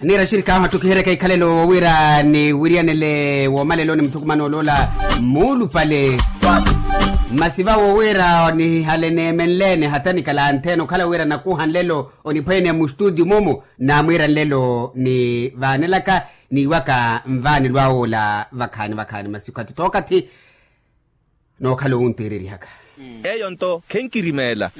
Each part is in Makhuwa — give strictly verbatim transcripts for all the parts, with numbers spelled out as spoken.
Niira axirikaahu attukiheryaka ikhalelo wira niwiryanele woomaleloni muthukumano oloola muulupale. Masi vawo wira nihale neemenleene hata nikala antheene okhala wira nakuuha nlelo oniphwanya mustudio mumu naamwiira nlelo nivaanelaka niiwaka nvaanelo awe ola vakhaani vakhaani masi okathi tookathi. Nookhala owunteererihaka. Eyo nto khenkirimeela.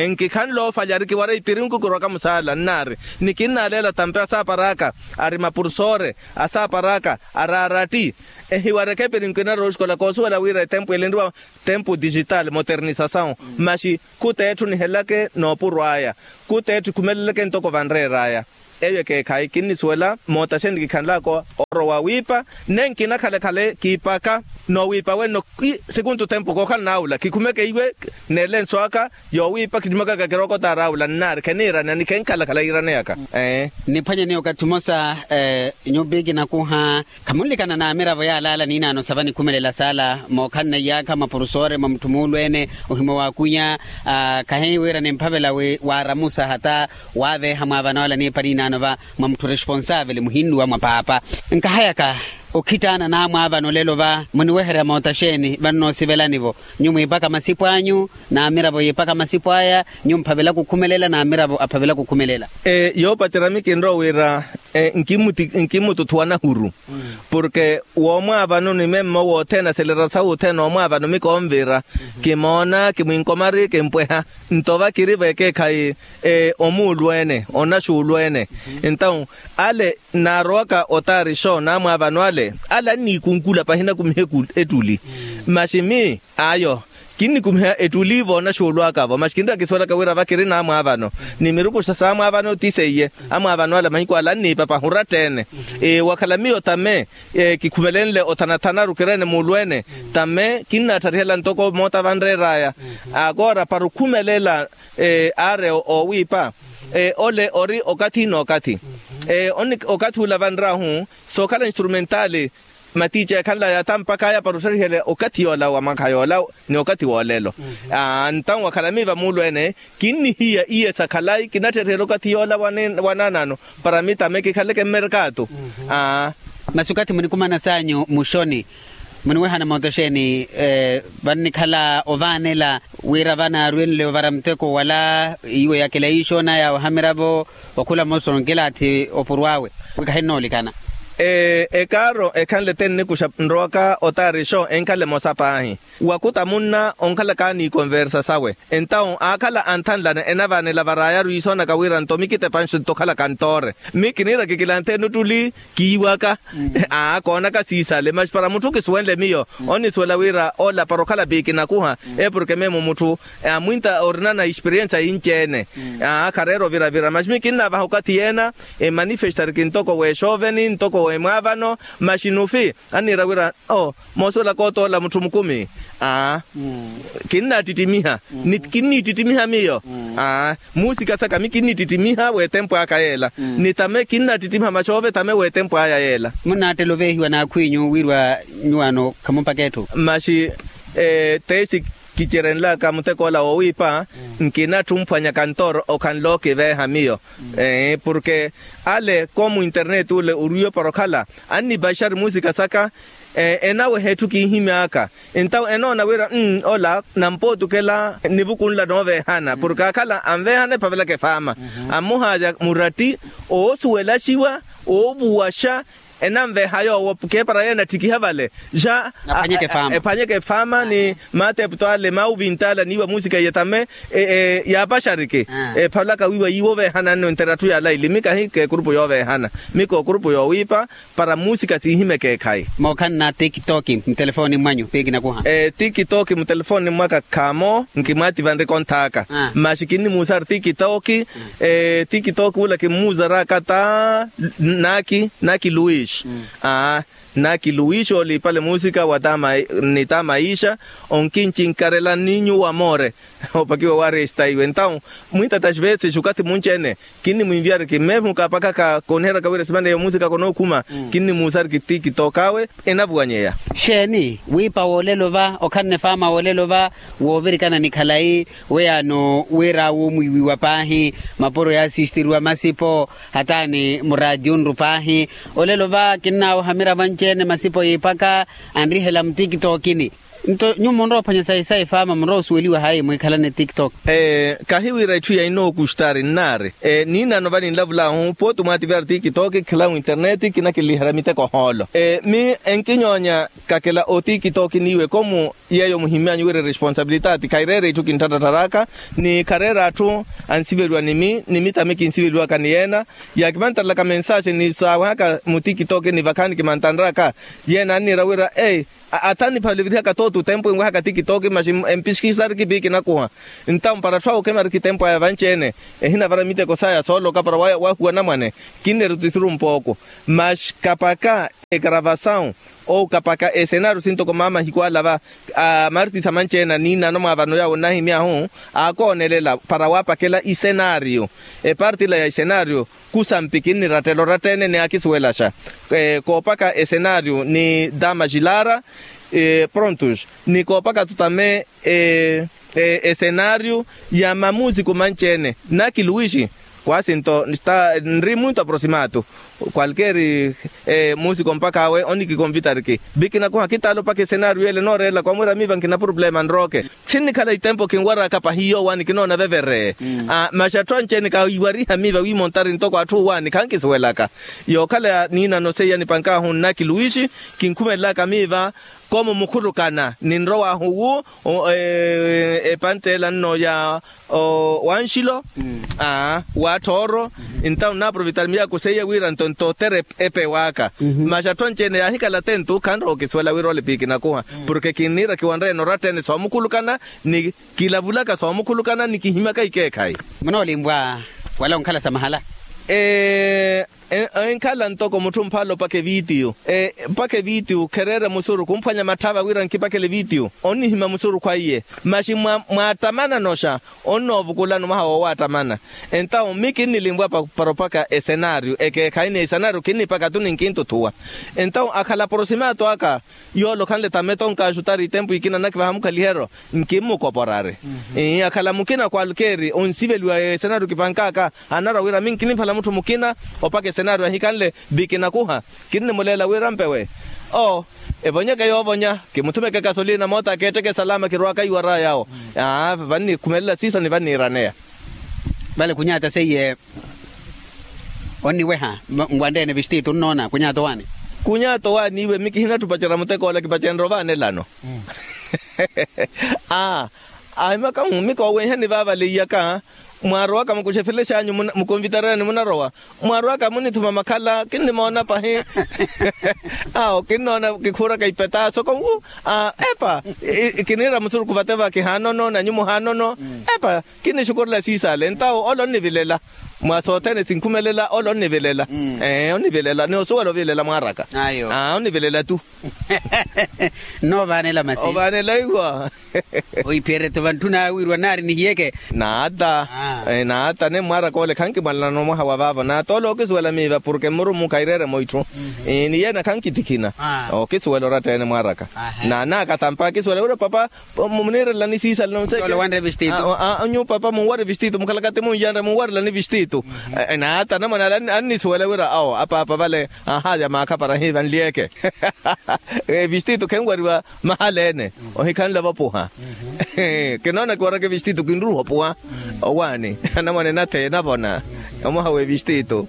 Nkikhanle oofalya ari kiwara ipirinku kirwaka musaala nnaari ni kinnaaleela tampe asaapar'aka ari mapurusoore asaapar'aka ari aratti. Ehiwareke epirinku enarooxikola koosuwela wira etempu elinriwa tempu digital modernisasawu. Maxi khuteetthu nihelelake noopurw'aya khuteetthu ikhumeleleke ntoko vanreer'aya. Eyo ekeekhayi kinnisuwela mootaxeni kikhanlaka oorowa wiipa. Nenkina khale khale kiipaka noowiipa wenno. Sikuntu tempu kookhala naawula kikhumeke iwe neelenso aka yoowiipa khittumakaka kirokotaari aawula nnaari kheniirana ni khenkhala khale yiiraneyaka. Niphwanyeni okathi mmosa nyupi kinakuha khamunlikana n'amiravo yaalaala n'inaano sa vanikhumelela saala mookhanna iyaakha mwa purusoore mwa mutthu muulweene ohimwa waakwinya. Khahiwira nimphavela wi waaramusa hata waaveeha mwaavana wala niipa n'inaano va mwa mutthu responsaveli muhinnuwa mwa paapa. Nkahayaka okhittaana n'amwaavana olelo va muniweherya mootaxeeni vannoosivelani-vo? Nyu mwiipaka masipo anyu n'amiravo yiipaka masipo aya nyu mphavela kukhumelela n'amiravo aphavela kukhumelela. Yoopacerya mi kinrowa wira nkimmututhuwa nahuru porke woomwaavano ni memmo wothene aselera sawuthene oomwaavano mi koonvira kimoona kimwinkomari kimpweha. Nto vakiri vekeekhayi omuulweene onaxuulweene. Entawu ale nnaarowaka otaarixo n'amwaavano ale ale anniikunkula pahi nakumiha ettuli. Maxi mi ayo kinnikumiha ettuli voonaxuulwaka-vo maxi kinraka kisuwelaka wira vakiri n'amwaavano ni mirukuxa s'amwaavano ti seiye. Amwaavano ale mahiku ale anniipa pahura tteene. Wakhala miyo tame kikhumelenle othanathanaru kireene muulweene tame kinnattarihela ntoko moota vanreer'aya. Akoora para okhumelela aare oowiipa ole ori okathi n'okathi. Okathi ula vanr'ahu sookhala instrumentaali matiici ekhanlaya tampak'aya para ottarihela okathi yoola wa mwakha yoola ni okathi woolelo. Aa ntawu wakhala miiva muulweene kinnihiya iye sa khalayi kinatterihela okathi yoola wa naanaano para mi tame kikhaleke mmerkaatu. Aa masi okathi munikumana saanyu muxoni muniwehana mooto exeeni? Vannikhala ovaanela wira vanaarwenle ovara muteko wala iwe yakela iixoona yaaweha miravo okhula mmosa onkilaathi opurw'awe wi khahinnoolikana. Ekaaro ekhanle te nnikuxa nrowaka otaarixo enkhala emosa paahi wakuta munna onkhalaka ni ikonversa sawe. Entawu aakhala anthanlana enavaanela varaayaru iisoonaka wira nto mi kitepanxi nto okhala kantoore mi kiniira kikilantheeni ottuli kiiwaka. Aa koonaka siisale maxi para mutthu kisuwenle miyo onnisuwela wira ola para okhala piikinakuha eporke meemo mutthu amwinta orinana experiensa yinci-ene. Aa khareera oviravira maxi mi kinnavaha okathi yeena emanifestari kintoko w'exooveni ntoko w'emwaavano maxi nufi anniira wira oo moosuwelaka otoola mutthu mukumi. Aa kinnattittimiha ni kinnittittimiha miyo. Aa muusika saka mi kinnittittimiha w'etempu aka yeela ni tame kinnattittimiha maxoove tame w'etempu aya yeela. Munnaattela oveehiwa n'akhw'inyu wiiriwa nyuwaano khamumpaka etthu. Maxi teesi kicerenlaka mutek'ola woowiipa nkinatthumphwanya kantooro okhanle okiveeha miyo. Porke ale koomu interneti ole orwiiwe para okhala annipaxari muusika saka enaweha etthu kiihimy'aka. Entawu enoona wira ola nampootukela nivuku nla nooveehana porke akhala anveehana ephavelaka efaama. Ammuhaaya muratti oosuwelaxiwa oovuwaxa enanveeha yoowo kepara yeena attikiha vale ja ephwanyeke efaama ni maatepto ale maawuvint'ale niiwa muusika iye tame yaapaxariki. Ephalaka wiiwa yiiwo oveehananne onttera atthu yaalaili mi kahi k'ekurupu yooveehana mi k'okurupu yoowiipa para muusika siihimeke ekhayi. Mookhanna tikitoki mutelefooni mmwanyu piikinakuha. Tikitoki mutelefooni mmwaka khaamo nkimwaativanrika onthaaka. Maxi kinnimuusari tikitoki tikitoki ula kimmuuzaraka ta naki naki luis. Aa Naki luwixa oliipale musika wa tama ni tama ixa. Onkincinkarela ni nyuwo amoore opakiwa waresta iwe entawu mwitata xivetsexi okathi munci-ene. Kinnimwinviyariki mmeemuka apakaka koniheraka wira esimana eyo musika konookhuma. Kinnimuusariki tikitoka awe enavuwanyeya. Xeeni wiipa woolelo va okhanne faama woolelo va woovirikana ni khalayi weyaano wira wumwiiwiwa paahi mapuro yaasisitiriwa masipo hataani muraatiyunru paahi. Olelo va kinnaawoha miravo anci-ene masipo yiipaka anrihela mutikitokini. Nto nyuwo munrowa ophwanya sayi sayi faama munrowa osuweliwa hayi mwiikhalane tiktok? Kahi wira itthu ya inookuxtari nnaari niinano vaninlavulahu pooti mwaativyari tiktok khila winterneti kinakinlihara miteko hoolo. Mi enkinyoonya kakela otiktok niiwe komu yeeyo muhimmyanyu wira eresponsabilitati khaireera itthu kintthatthattharaka ni khareera atthu ansiveliwa ni mi ni mi tami kinsiveliwaka ni yeena. Yaakimantarelaka mensaxe ni saawehaka mutiktok ni vakhaani kimantanraka yeena anniira wira ei athaniphalivirihaka tootu tempu enwehaka tiktok maxi empisikisariki piikinakuha. Ntawo mpara atthu awo okhemariki tempu aya vanci-ene ehinavara miteko saya sooloka para wahuwa anamwane. Kinneru tisiru mpooko maxi kapaka ekaravasawu ou kapaka esenaario sintoko maamahiku ala va amartitha manci-ene aniinano mwa vano yaawo onnahimyahu aakoonelela para waapakela isenaario. Eparti ila ya isenaario kusampi kinnirattela oratta-ene ni aakisuwelaxa koopaka esenaario ni dama xilara prontus ni koopaka tutame esenaario ya mamusiku manci-ene. Naki luwixi kwasinto nri muntu aprosimatu kwalkeeri musiku mpakha awe onikikonvitariki vikinakuha kitaala opakha esenaario ele nooreelaka wamwiira miiva nkina purupulema nrooke. Sinnikhala itempo kinwaraka pahi yoowaani kinoona vevereye. Maxi atthu anci-ene kaiwariha miiva wiimontari ntoko atthu owaani khankisuwelaka. Yookhala niinano seiya nipankaahu nnaki luwixi kinkhumelelaka miiva komo mukhulukana ninrowaahu wu epanttela nno ya wanxilo waathooro. Ntawo nnaaprovitari miyaaku seiya wira nto ntotere epewaaka. Maxi atthu anci-ene yaahikhala attentu khanrowa okisuwela wira ole piikinakuha porke kinniira kiwanreene oratta-ene soomukhulukana ni kilavulaka soomukhulukana ni kihimyaka ikeekhayi. Munoolimwa wala onkhala sa mahala. Enkhala ntoko mutthu mphaala opaka evitiyo opaka evitiyo khereere musuru kumphwanya matthava wira nkipakele evitiyo onnihimya musuru khwaiye. Maxi mwaattamanano xa onnoovukulani mwaha woowaattamana. Entawo mi kinnilimwa para opaka esenaario ekeekhayi ni esenaario kinnipaka tu ni nkintuthuwa. Entawo akhala aprosimatu aka yoole okhanle tameta onkaaxutari itempu ikina nakivaha mukhaliheryo nkimmukoporari. Akhala mukina kwalkeeri onsiveliwa esenaario kipank'aka anarwa wira mi nkiniphala mutthu mukina opaka esenaario ahikanle vikinakuha. Kinnimuleela wira mpewe oo evonyeke yoovonya kimuthumeke kasolina moota akeetteke salama kirwaaka iwara yawo. Vannikhumelela siisa ni vanniiraneya. Vale khunyaata seiye onniweha nwanreene vistiitu nnoona khunyaata owaani. Khunyaata owaani iwe mi kihinatthi opacerya mutek'ola kipacenrya ovaanelano. Aa ahimaka mi koowenhani vaavale iyaka mwaarowaka mukuxefele xanyu mukonvitarerani munarowa mwaarowaka munithuma makhala kinnimoona pahi. Awo kinnoona kikhuuraka ipetaso konwu epa kiniira musuruku vate va kihaanono nanyu muhaanono. Epa kinnixukurela siisale ntawo ole onnivilela mwa sothene sinkhumelela ole onnivilela. Ee onnivilela ni osuwela ovilela mwaaraka. Onnivilela tu. Nno ovaanela masi ovaanela iwa. Ohiphiyerya-tho vantthuna awiiriwa naari nihiyeke. Naata. Naata ne mwaaraka ole khankimwalanano mwaha wa vaavo naata ole ookisuwela miiva porke mmurumu khaireeremo itthu. Ni yeena khankitikhina. Ookisuwela oratta-ene mwaaraka. Naanaaka tampa akisuwela wira papa muniirelelani siisale nonse. Nyuwo papa munwari vistiitu mukhalaka ti munyanre munwarelani vistiitu. Naata anamwane ale annisuwela wira awo apaapa vale. Ahaaya maakha para hiiva nliyeke. Vistiitu khenwariwa mahala-ene ohikhanle vopuha. Kinoona kiwaraka evistiitu kinruuha opuwa. Owaani anamwane natheye navona omwaha w'evistiitu.